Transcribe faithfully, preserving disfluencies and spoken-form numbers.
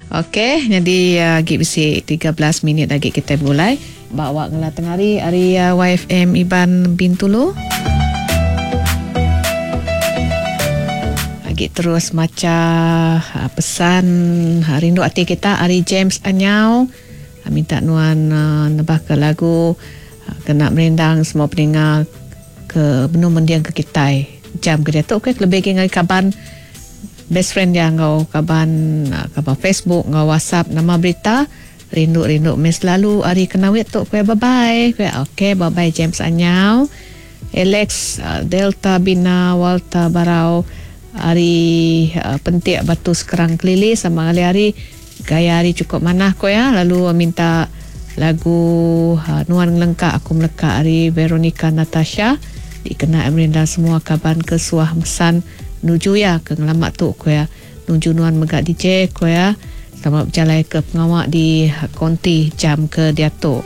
Okey, jadi agi bisi tiga belas minit lagi kita begulai. Bawa ngela tengah hari hari Y F M Iban Bintulu. Agi terus maca pesan rindu ati kita ari James Anyau. Minta nuan nebah ke lagu kena merindang semua peninga ke benung mendiang ke kitai. Jam ke dia tu okey lebih lagi ngai kaban best friend dia ngau kaban kaban Facebook ngau WhatsApp nama berita rindu-rindu mes selalu hari kenawit tu kuya bye-bye. Kuya okey bye-bye James Anyau. Alex Delta Bina Walter Barau hari pentik batu sekerang kelili sama kali hari gaya hari cukup manah kuya lalu minta lagu Nuan Ngelengkak Aku Melekak hari Veronica Natasha dikena merinda semua kaban ke suah mesan nuju ya ke ngelamak tu kuya nuju nuan mega D J kuya selamat berjalan ke pengawak di konti jam ke diatu.